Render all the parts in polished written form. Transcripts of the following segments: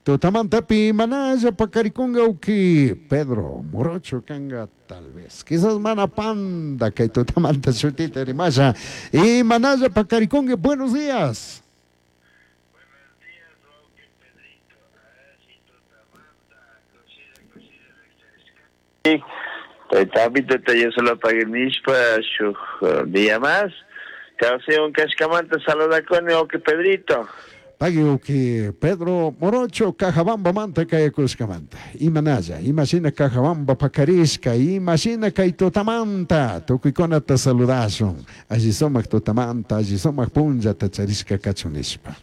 Tutamantapi manalla pakarikunga uki Pedro Morocho kanga tal vez. Quizás mana panda kay tutamanta shutita rimasha. Y manalla pakarikunga. Buenos días. Tayta yo solo paguinishpa shuk día más. Kawsaywan kashkamanta saludakuni wawqi Pedrito. Pagui wawqi Pedro Morocho Cajabambamanta kayakushkamanta. Imanalla, imashina Cajabamba pakarishka, imashina kay tutamanta tukuykunata saludashun. Alli sumak tutamanta, alli sumak punllata charishka kachun nishpa.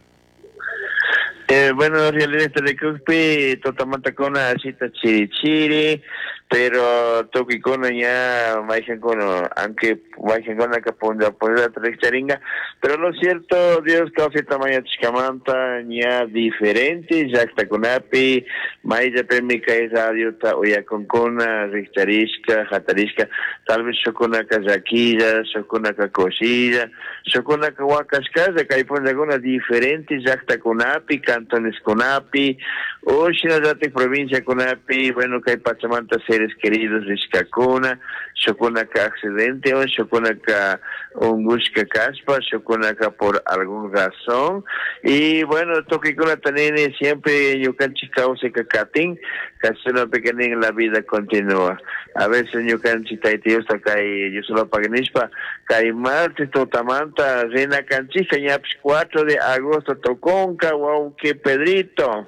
Bueno, en realidad rikukpi tutamantakuna ashita chiri chiri, pero tukuykuna ña mayjankuna, aunque mayjankunaka punlla punllata rikcharinga, pero lo cierto Dios kawsayta mañachishkamanta ña diferente llaktakunapi mayllapimi kay radiota uyakunkuna rikcharishka, hatarishka, tal vez shukkunaka llakilla, shukkunaka kushilla, shukkunaka wakashkalla kay punllakuna diferente llaktakunapi, cantoneskunapi, o shinallatik provinciakunapi, bueno, kay pachamanta seres queridos rishkakuna, shukkunaka accidente o shukkunaka ungushka kashpa, shukkunaka por algún razón, y bueno, tukuykunata nini siempre ñukanchik kawsayka katin, kashunapika nin la vida continúa. A veces ñukanchik Tayta Diosta kay Diosolopak nishpa, kay martes tutamanta rina kanchikka ñapish 4 de agosto tukunka, wawqi Pedrito.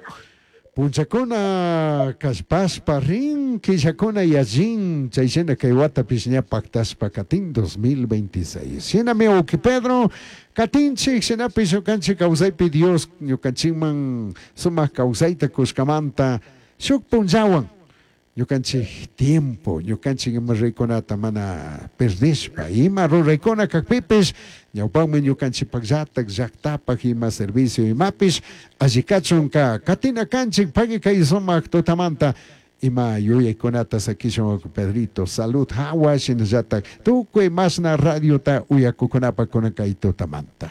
Punchakuna kallpashpa rin, killakuna yallin, chay shina kay watapish ña paktashpa katin 2026. Shinami wawqi Pedro, katinchik, shinapish ñukanchik kawsaypi Dios ñukanchikman sumak kawsayta kushkamanta shuk punllawan ñukanchik tiempo, ñukanchik ima ruraykunata mana perdishpa, ima ruraykuna kakpipish ñawpakmi ñukanchikpakllatak llaktapak ima servicio imapish alli kachunka katina kanchik pagui kay sumak tutamanta ima yuyaykunata sakishun wawqi Pedrito, salud hawa shinallatak tukuy mashna radiota uyakukunapak kunan kay tutamanta.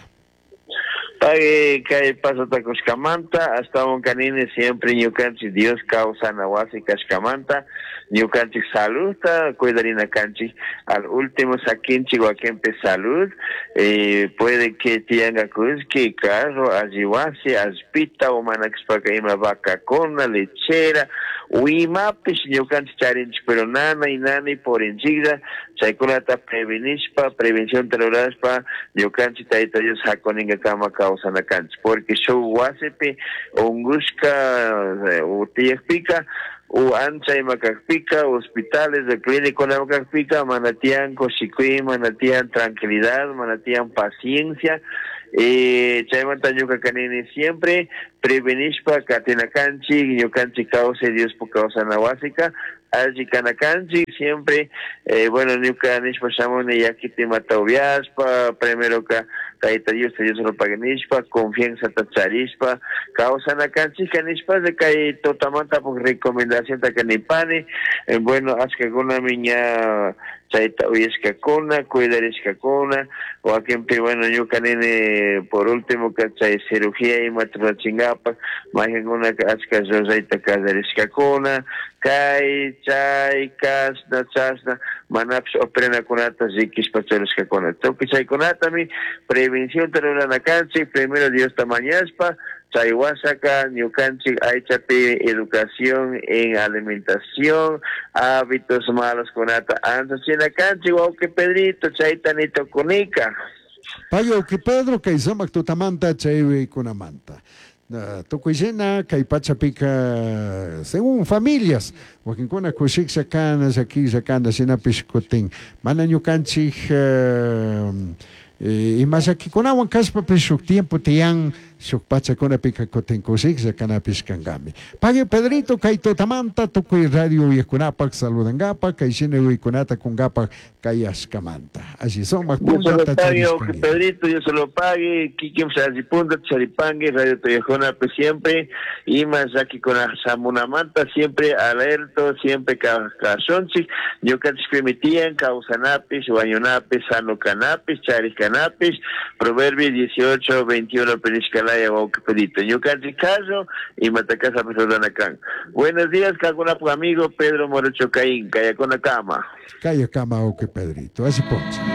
Pagui kay pasata kushkamanta, ashtawan kanini siempre ñukanchik Dios kawsana wasi kashkamanta, ñukanchik saludta cuidarina kanchik, al último sakinchik wakinpi salud, puede que tiyanka kullki, carro, alli wasi, allpita o mana kashpaka ima vacakuna, lechera, o imapish ñukanchik charinchik, pero nanay nanay purinchiklla, chaykunata prevenishpa, prevencionta rurashpa, ñukanchik Tayta Dios hakuninka kawsana kanchik, porque shuk wasipi ungushka tiyakpika, o ancha ima kakpika, hospitales de clínicuna kakpika, mana tiyan kushikuy, mana tiyan tranquilidad, mana tiyan paciencia. Chaymanta ñuka kanini siempre prevenishpa katina kanchik, ñukanchik kawsay Diospuk kawsana wasika, alli kana kanchik, siempre, bueno, ñuka nishpa shamuni yakita imata upiashpa, primero ka Tayta Diosta Dios rupak nishpa, confianzata charishpa, kawsana kanchikka nishpa, kay tutamanta puk recomendacionta kanipani, bueno, ashkakunami ña chayta uyashkakuna, cuidarishkakuna, wakinpi, bueno, ñuka nini, por último, ka chay cirugía imata rurachinkapak, maykankunaka ashka rurayta kallarishkakuna, kay, chay, kashna, chashna, manapish operanakunata rikishpa churashkakuna. Tukuy chaykunatami prevencionta rurana kanchik, primero Diosta mañashpa, chay wasaka ñukanchik aychapi educación en alimentación, hábitos malos kunata anchachina kanchik, wawqi Pedrito, chayta nitukunika. Pagui wawqi Pedro, kay sumak tutamanta chay kunamanta. Tukuy shina kay pachapika según familias, wakinkuna kushiklla kana, llakiklla kana, shinapish kutin mana ñukanchik ima llakikunawan kashpapish shuk tiempo tiyan, shuk pachakunapika kutin kushiklla kanapish kankami. Pagui Pedrito, kay tutamanta tukuy radio uyajkunapak saludankapak, kay shina uykunata kunkapak kayashkamanta. Alli sumak Dios se lo punllata pague, charishkanki. Pedrito, Dios se lo pague, kikin alli punta charipangue, radio tuyajkunapi siempre, ima llakikuna shamunamanta, siempre alerto, siempre kashunchik, ñukanchik permitían, kawsanapish, wañunapish, sano kanapish, charishkanapish, Proverbio 18, 21, penishkala. laya wawqi Pedrito. Ñukanchik caso imata kashapish rurana kan. Buenos días, kankunapuk amigo Pedro Morocho Caín, kayakuna kama. Kaya kama wawqi Pedrito. Así ponche.